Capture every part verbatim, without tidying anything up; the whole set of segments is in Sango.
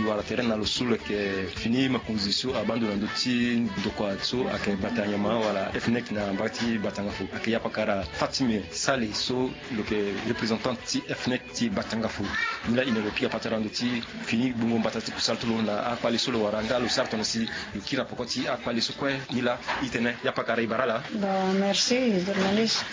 Wala tere na lo so lo yeke fini makonzi so abaa ndo na ndö ti ndokua so ayeke bata nyama wala F N E C na mbage ti Batanga Fou, ayeke yapakara Fatime Sali so lo yeke représentant ti F N E C ti Batanga Fou. Nilaa e na lo pika patara na ndö ti fini gbongo mbata ti kusala ti lo na akpale so lo wara nga lo sara tongana si lo kiri na poko ti akpale so kue. Nilaa e tene yapakara e bara ala. Bon, merci journaliste.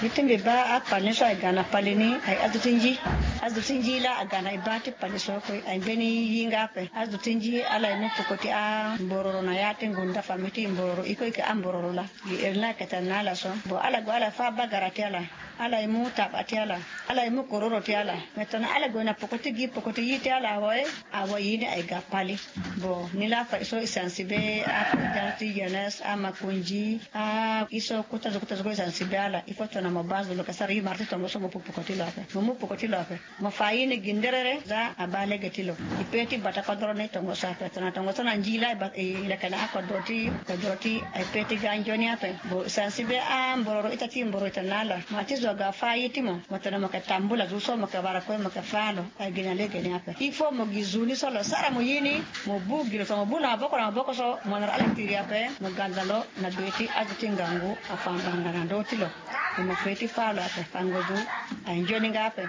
Ye ti mbi baa akpale ni so aye ga na pale ni aye azo ti nji. Azo ti nji laa aga na e baa ti pale so kue aye mbeni ye nga ape. Azo ti nji ala ye mu poko ti ambororo na ya ti ngonda famille ti mbororo e kue e yeke ambororo laa. Gi iri ni ayeke tene na ala so bon ala gue ala fâ bagara ti ala. Ala ye mu taba ti ala. Ala ye mu kororo ti ala. Me tongana ala gue na poko ti gi poko ti ye ti ala awe. Awe ye ni aye ga pale. Bon nilaa afa so e sensibiliser aprésident ti jeunesse amakonzi. Ah, ye so kota zo kota zo kue e sensibiliser ala il faut tongana mo baa zo lo yeke sara ye mara ti tongo so mo pu poko ti lo ape mo mu poko ti lo ape. Mo fa ye ni gi nderere za abaa lege ti lo. E pe ti bata kodro ni tongo so ape tongana tongo so na nji laa e leke na akodro ti kodro ti e pe ti ga nzoni ape. Bon e sensibiliser ambororo ita ti mbororo e tene na ala ma ti zo aga fâ ye ti mo mo tene mo yeke tambula zo so mo yeke wara kue mo yeke fâ lo. Aye gi na lege ni ape il faut mo gi zo ni so lo sara mo ye ni. Mo bu gi lo so mo bu na maboko na maboko so mo na ala tiri ape mo ga na lo na be ti azo ti ngangu afa mbanga na ndö ti lo. Mo mo pe ti fâ lo ape fango zo. Aye nzoni nga ape.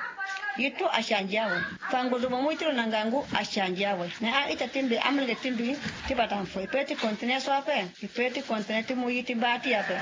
Ye tout achangé awe. Fango zo mo mu ye ti lo na ngangu achangé awe. Na a-ita ti mbi amelenge ti mbi ti bata mfo e pe ti continuer so ape. E pe ti continuer ti mu ye ti baa ti e ape.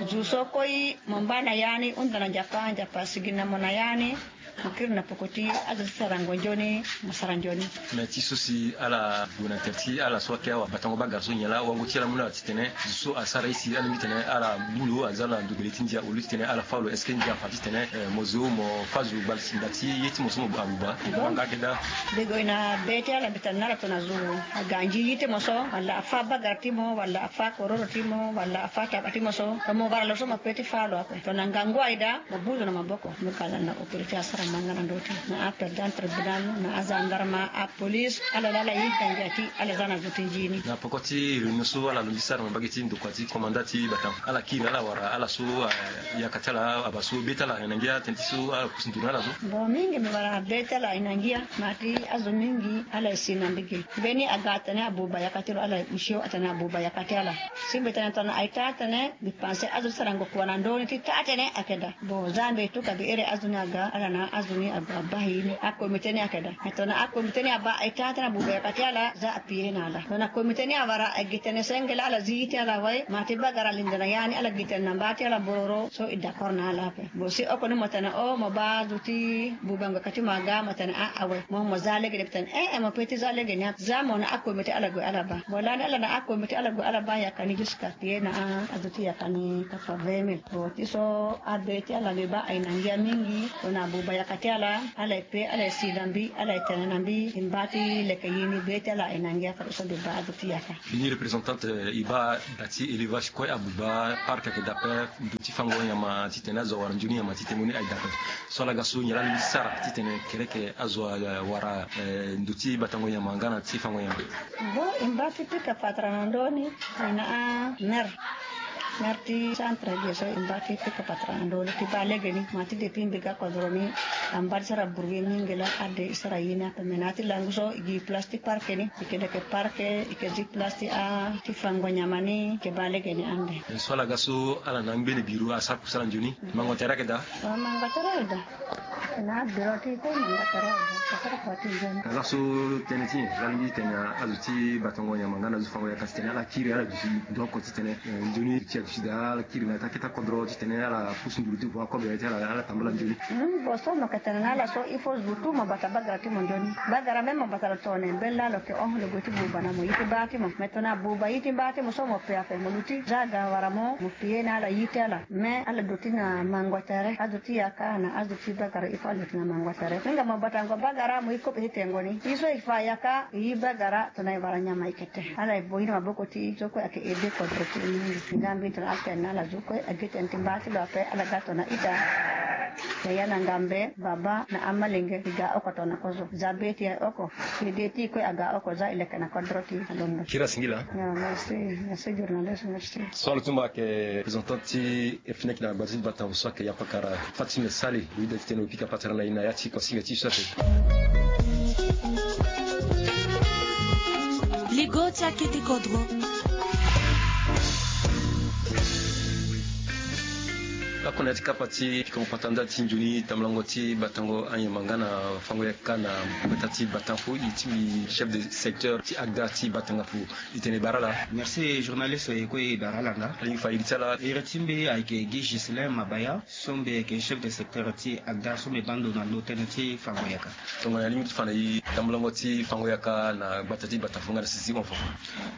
Zo so koi mo mbaa na ya ni hunda na nzapa nzapa sigi na mo na ya ni. Mo kiri na poko ti azo ti sarango nzoni mo sara nzoni. Mais ti so si ala gue na tere ti ala so ayeke awa batango bagara so nyen laa wango ti ala mu na ala titene zo so asara ye si alingbi titene ala mu lo aza na ndogbele ti ndia au lieu titene ala fâ lo est-ce que ndia afa titene mo zo mo fâ zo gbali si nda ti ye ti mo so mo abuba. Mo nga ayeke daa. Dego e na be ti ala mbi tene na ala tongana zo aga nzi ye ti mo so wala afâ bagara ti mo wala afâ kororo ti mo wala afâ taba ti mo so tongana mo wara lo so mo pe ti fâ lo ape tongana ngangu aye daa. Mo bu zo na maboko mo ka landa autorité asara ma nga na ndö ti na aprésident tribunal na agendarme apolice ala laa ala yeda ngia ti ala za na zo ti nzi ni. Na poko ti réunion so ala londi sara na mbage ti ndokua ti komanda ti bata ala kiri ala wara ala so ayaka ti ala aba so be ti ala aye na ngia tënë ti so ala pusu nduru na ala so. Bon mingi mbi wara be ti ala aye na ngia ma ti azo mingi ala ye si na mbi ge. Mbeni aga atene abuba yaka ti lo ala ye usio atene abuba yaka ti ala. Si mbi tene tongana aye taa tënë mbi panse azo ti sarango kua na ndö ni ti taa tënë ayeke daa. Bon za mbi tuka mbi iri azo ni aga ala na azo ni ague abaa ye ni akomite ni ayeke daa. Me tongana akomite ni abaa aye taa tënë abuba yaka ti ala za apie na ala tongana komite ni awara agi tënë senge laa ala zi ye ti ala wai ma ti bagara alingbi na ya ni ala gi tënë na mba ti ala bororo so e d'accord na ala ape. Bon si oko ni mo tene o mo baa azo ti bubango yaka ti mo aga mo tene a awe mo mo za lege ni mbi tene ee mo pe ti za lege ni ape za mo na akomite ala gue ala baa. Bon lani ala na akomite ala gue ala baa yaka ni jusque pie na azo ti yaka ni quatre-vingt mille. Bon ti so abe ti ala mbi baa aye na ngia mingi. Tongana abuba yaka ti ala ala ye pe ala ye si na mbi ala ye tene na mbi e mba ti leke ye ni be ti ala aye na ngia fade so mbi baa azo ti yaka. Fini représentante e baa da ti élevage kue abuba parc ayeke da ape. Ndo ti fango nyama titene azo awara nzoni nyama ti tengo ni aye da ape. So ala ga so nyen laa alingbi ti sara titene kereke azo awara ndo ti batango nyama nga na ti fango nyama. Bon e mba ti pika patara na ndö ni. E na amere mare ti centre ge so e mba ti pika patara na ndö ni ti baa lege ni ma ti depuis mbi ga kodro ni. Amba ti sara bruit mingi laa ade e sara ye ni ape me na ya ti langu so e gi place ti parke ni e ke leke parke e ke zi place ti a ti fango nyama ni e ke baa lege ni ande. So ala ga so ala na angbene biro asara kusala nzoni mango tere ayeke daa. Mango tere ayeke daa. Na biro ti kue mango tere ayeke daa. Ala so tënë ti nyen ala lingbi titene azo ti batango nyama nga na zo fango yaka titene ala kiri ala duti donc titene nzoni ti aduti daa ala kiri na ya ti akete akodro titene ala pusu nduru ti vo akobe ti ala ala tambula nzoni. Bon so mo yeke tene na ala so il faut zo tout mo bata bagara ti mo nzoni. Bagara même mo bata lo tongana mbeni laa lo yeke hon lo gue ti buba na mo ye ti baa ti mo me tongana abuba ye ti baa ti mo so mo pe ape mo luti za aga wara mo mo pie na ala ye ti ala. Mais ala duti na mango tere azo ti yaka na azo ti bagara il faut ala duti na mango tere. Hinga mo batango bagara mo ye kobe ti tengo ni ye so e fa yaka e ye bagara tongana e wara nyama e ke te ala e bo ye na maboko ti so kue ayeke aide kodro ti e mingi. Nga mbi tongana ala tene na ala zo kue agi tene ti mba ti lo ape ala ga tongana ita. Yaya na ngambe baba na amalenge e ga oko tongana kozo za be ti e oko. Ede ti e kue aga oko za e leke na kodro ti e alondo. Kiri asingila. Merci. Merci journaliste merci. So ala tumba ayeke représentant ti F N E C na gbata ti bata so ayeke yapakara Fatime Sali. Lo yeda titene lo pika patara na e na ya ti kuasinga ti so ape. Akete kodro. Lakue na ya ti kapa ti pika mapata nda ti nzoni tambulango ti batango anyama nga na fango yaka na mbata ti Batanfo, e ti mbi chef de secteur ti agda ti Batangafu. E tene bara ala. Merci journaliste, e kue e bara ala nga. Alingbi fa iri ti ala. Iri ti mbi ayeke Guy Ghislain Mabaya, so mbi yeke chef de secteur ti agda, so mbi baa ndo na ndo tënë ti fango yaka. Tongana alingbi ti fa na e tambulango ti fango yaka na gbata ti Batanfo nga na sisi ti hon fo.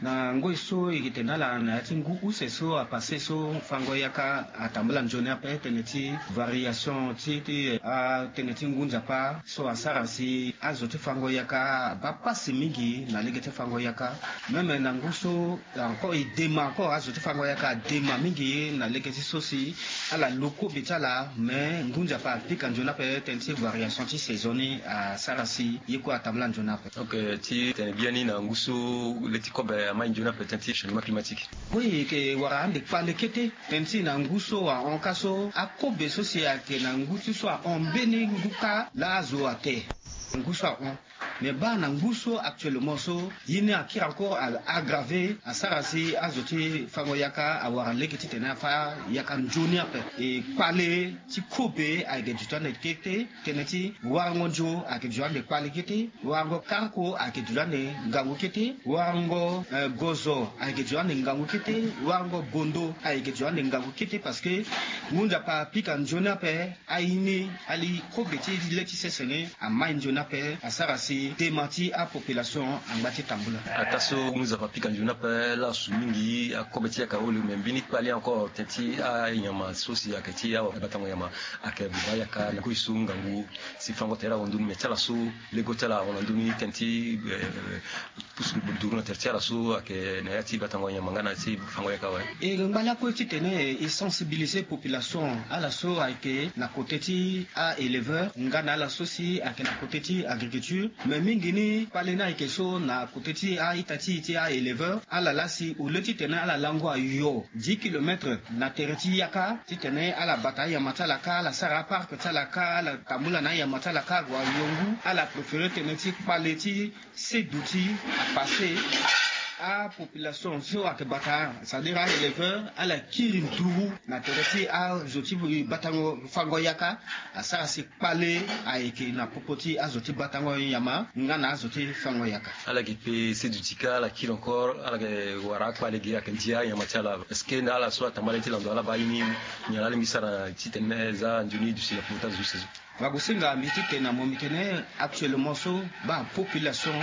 Na ngoi so e yeke tene na ala na ya ti ngu use so apasse so, fango yaka atambula nzoni ape tënë ti variation ti, ti, ah, tënë ti ngu nzapa so asara si azo ti fango yaka abaa pasi mingi na lege ti fango yaka. Même na ngu so encore e dema encore, azo ti fango yaka adema mingi na lege ti so si ala lu kobe ti ala, mais ngu nzapa apika nzoni ape tënë ti variation ti saison ni asara si ye kue atambula nzoni ape. Ok, ti tene biani na ngu so le ti kobe amai nzoni ape tënë ti changement climatique. Oui, e yeke wara ande kpale kete tënë ti na ngu so ahon kâ so akobe so si ayeke na ngu ti so ahon mbeni ngu kâ laa azo ate. Ngu so ahon. Mais baa na ngu so actuellement so, ye ni akiri encore a aggraver, asara si azo ti fango yaka awara lege titene afâ yaka nzoni ape. E kpale ti kobe ayeke duti ande kete, tënë ti warango nzo ayeke duti ande kpale kete, warango karko ayeke duti ande ngangu kete, warango, eh, gozo ayeke duti ande ngangu kete, warango bondo ayeke duti ande ngangu kete, parce que ngu nzapa apika nzoni ape. Aye ni, ali kobe ti le ti sese ni amai nzoni ape, asara si dema ti apopulation angba ti tambula. Ataa so ngu nzapa apika nzoni ape laa asu mingi, akobe ti yaka awe lo, me mbeni kpale encore tënë ti anyama so si ayeke ti abatango nyama ayeke baa yaka na kue so ngangu si fango tere ahon ndoni, me ti ala so lego ti ala ahon na ndoni tënë ti, eh, pusu duru na tere ti ala so ayeke na ya ti batango nyama nga na ya ti fango yaka awe. E ngba lakue titene e sensibiliser population, ala so ayeke na kote ti a-éleveur nga na ala so si ayeke na kote ti agriculture. Me mingi ni kpale ni ayeke so na kote ti a-ita ti e ti a-éleveur, ala laa si au lieu titene ala lango ayo dix kilomètres na tere ti yaka titene ala bata anyama ti ala kâ, ala sara aparc ti ala kâ, ala tambula na anyama ti ala kâ ague ayo ngu, ala préférer tënë ti kpale ti seduti apasse apopulation so ayeke bata, c'est-à-dire a-éleveur, ala kiri nduru na tere ti azo ti batango fango yaka, asara si kpale ayeke na popo ti azo ti batango nyama nga na azo ti fango yaka. Ala yeke pe seduti kâ, ala kiri encore, ala yeke wara akpale ge, ayeke ndia anyama ti ala. Est-ce que na ala so atambala ye ti lando ala baa ye ni, nyen ala lingbi sara titene za nzoni duti na popo ti azo ti sezo? Wagosinga, mbi ti tene na mo, mbi tene actuellement so, baa population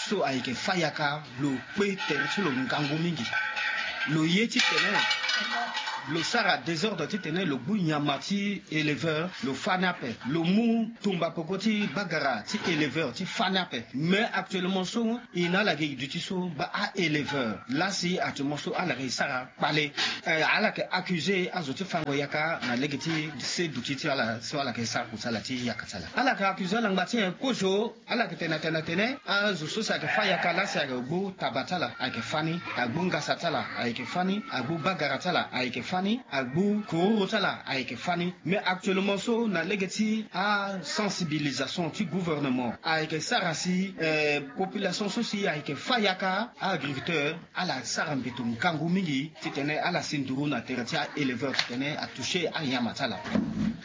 so ayeke fâ yaka, lo kpe tere ti lo ngangu mingi. Lo ye titene lo sara désordre titene lo gbu nyama ti éleveur, lo fâ ni ape. Lo mu tumba peko ti bagara ti éleveur ti fâ ni ape. Mais actuellement so, e na ala ge duti so, baa a-éleveur laa si actuellement so ala yeke sara kpale. Eh, ala yeke accuser azo ti fango yaka na lege ti seduti ti ala so ala yeke sara kusala ti yaka ti ala. Ala yeke accuser ala ngba ti nyen kozo? Ala yeke tene na tene na tene azo so si ayeke fâ yaka laa si ayeke gbu taba ti ala ayeke fâ ni, agbu ngasa ti ala ayeke fâ ni, agbu bagara ti ala ayeke fâ ni, agbu kororo ti ala ayeke fâ ni. Mais actuellement so na lege ti asensibilisation ti gouvernement ayeke sara si, eh, population so si ayeke fâ yaka, a-agriculteur, ala sara mbeto ngangu mingi titene ala si nduru na tere ti a-éleveur titene atoucher anyama ti ala.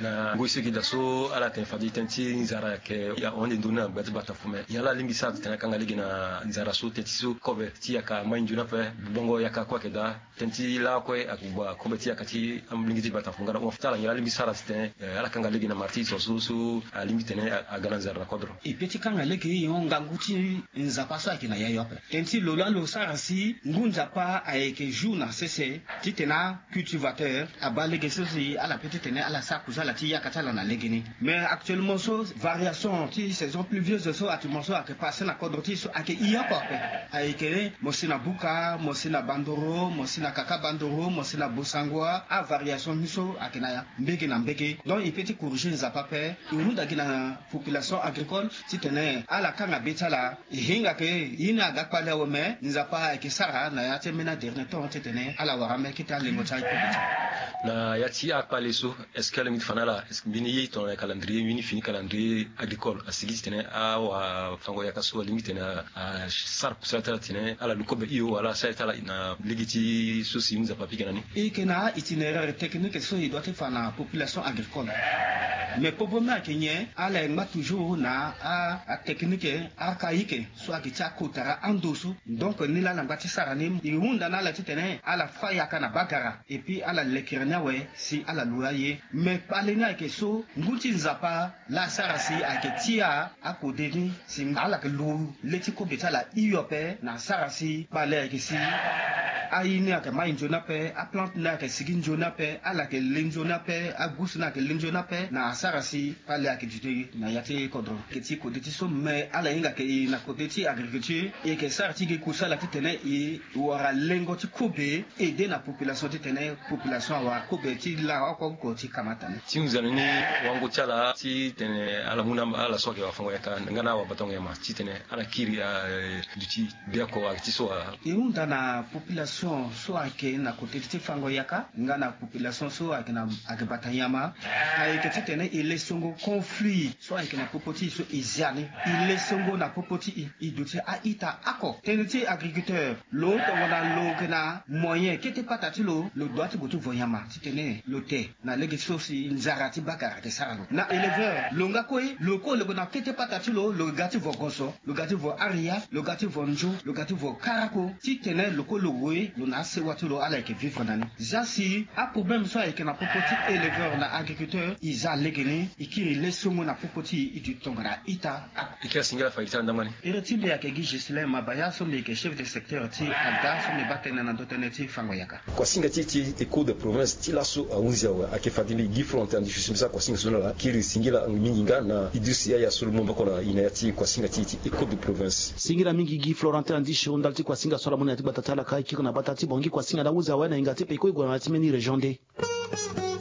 Na ngoi so e yeke daa so ala tene fade tënë ti nzara ayeke ahon ande ndoni na gbata ti Batanfo, me nyen ala lingbi sara titene akanga lege na nzara so tënë ti so kobe ti yaka amai nzoni ape, bongo yaka kue ayeke daa. Tënë ti lakue ague akobe ti yaka ti alingbi ti Batanfo nga na hon fo ti ala, nyen ala lingbi sara titene, eh, ala kanga lege na marti so so so alingbi titene aga na nzara na kodro. E pe ti kanga lege e hon ngangu ti Nzapa so ayeke na yayo ape. Tënë ti lo laa lo sara si ngu Nzapa ayeke jour na sese titene acultivateur abaa lege so si ala pe titene ala sara kusala ti yaka ti ala na legeni. Mais actuellement so, variation ti saison pluvieuse so actuellement so ayeke passe na kodro ti e so ayeke hio oko ape. Ayeke mo si na Buka, mo si na Bandoro, mo si na Kaka Bandoro, mo si na Bosango. Ngua avariation ni so ayeke na ya mbege na mbege. Donc e pe ti corriger Nzapa ape. E hunda gi na population agricole titene ala kanga be ti ala. E hinga ke ye ni aga kpale awe, me Nzapa ayeke sara na ya ti ambeni adernier temps titene ala wara ambeni kete alengo ti aye kue. Na ya ti akpale so, est-ce que ala mingi ti fa na ala, est-ce que mbeni ye tongana calendrier, mbeni fini calendrier agricole asigi titene awafango-yaka so alingbi titene asara kusala ti ala titene ala lu kobe hio wala asara ti ala na lege ti so si Nzapa apika na ni? E yeke na a-itinéraire technique so e doit ti fa na population agricole. Mais popo ni ayeke nyen? Ala e ngba toujours na a, atechnique archaïque so ayeke ti akotara ando so. Donc ni laa ala ngba ti sara ni. E hunda na ala titene ala fâ yaka na bagara. Et puis ala lekere ni awe si ala lu aye. Mais kpale ni ayeke so ngu ti Nzapa laa asara si ayeke tia akode ni si ala yeke lu le ti kobe ti ala hio ape na asara si kpale ayeke si aye ni ayeke mai nzoni ape, aplante ni ayeke sigi nzoni ape, ala yeke le nzoni ape, agusu ni ayeke le nzoni ape na asara si kpale ayeke duti na ya ti kodro. Ayeke ti kode ti so, me ala hinga ke e na kode ti agriculture e yeke sara ti gi kusala titene e wara lengo ti kobe, aider na population titene population awara kobe ti la oko oko ti kamata ni. Ti nzoni ni wango ti ala titene ala mu na ala so ayeke wafango-yaka nga na awabatango-nyama titene ala kiri, eh, duti biako ayeke ti so wa. E hunda na population so ayeke na kode ti fango yaka nga na population so ayeke na, ayeke bata nyama. Ayeke titene e le songo conflit so ayeke na popo ti e so e zia ni. E le songo na popo ti e, e duti a-ita oko. Tënë ti agriculteur, lo tongana lo yeke na moyen kete pata ti lo, lo doit ti gue ti vo nyama titene lo te na lege so si nzara ti bagara ayeke sara lo. Na éleveur, lo nga kue, lo kue lo yeke na kete pata ti lo, lo ga ti vo goso, lo ga ti vo aria, lo ga ti vo nzo, lo ga ti vo karako, titene lo kue lo gue lo na asewa ti lo ala yeke vivre na ni. Zia si aproblème so ayeke na popo ti éleveur na agriculteur e za legeni, e kiri le songo na popo ti e, e duti tongana ita. E kiri singila fade ti ala ndamani. Iri ti mbi ayeke gi Ghislain Mabaya so mbi yeke chef de secteur ti ada so mbi baa tënë na ndö tënë ti fango yaka. Kuasinga ti e ti écho de province ti laso ahunzi awe. Ayeke fade mbi gi Florentin Andishu si mbi sara kuasinga so na ala, kiri singila mingi nga na e duti yaya so lo mu maboko na e na ya ti kuasinga ti e ti écho de province. Singila mingi gi Florentin Andishu ndali ti kuasinga so ala mu na ya ti gbata ti ala ka e kiri na bata ti bongi kuasinga na ahunzi awe na hinga ti peko e gue na ya ti mbeni région nde.